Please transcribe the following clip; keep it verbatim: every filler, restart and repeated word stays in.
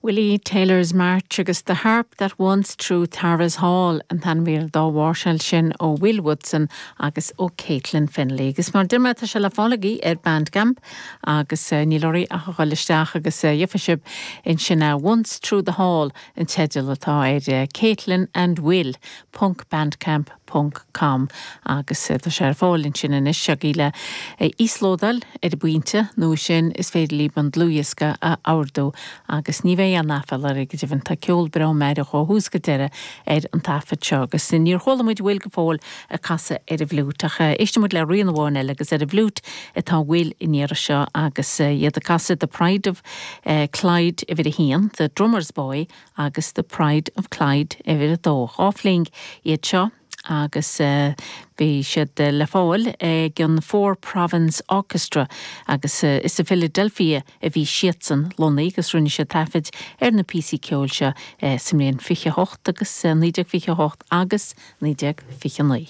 Willie Taylor's March agus The Harp That Once Through Tara's Hall an t-ainmhír dá mháirseáil sin ó Will Woodson agus ó Caitlin Fennelly. Agus mar dúirt mé tá sé le fáil ar Bandcamp agus uh, níl oraibh ach dul isteach agus uh, gheobhaidh sibh ansin uh, Once Through the Hall an teideal atá ar uh, Caitlin and Will ponc bandcamp ponc com agus uh, tá sé ar fáil ansin anois agaibh le íoslódáil ar an bpointe nó sin is féidir libh an dlúthdhiosca a ordú agus ní bheidh an aiféala oraibh go deimhin tá ceol breá meidhreach ó thús go deireadh ar an taifead seo agus níor chuala muid Will go fóill ag casadh ar an bhfliúit ach éistfidh muid le rian amháin eile agus ar an bhfliúit atá Will an iarraidh seo agus iad ag casadh The Pride of uh, Clyde uimhir a haon, The Drummer's Boy agus The Pride of Clyde uimhir a dó. Dhá phling iad seo agus uh, bhí siad uh, le fáil ag an Four Province Orchestra agus uh, is i Philadelphia a bhí siadsan lonnaithe agus rinne siad taifead ar na píosaí ceoil seo uh, sa mbliain fiche hocht agus uh, naoi déag fiche hocht agus naoi déag fiche naoi.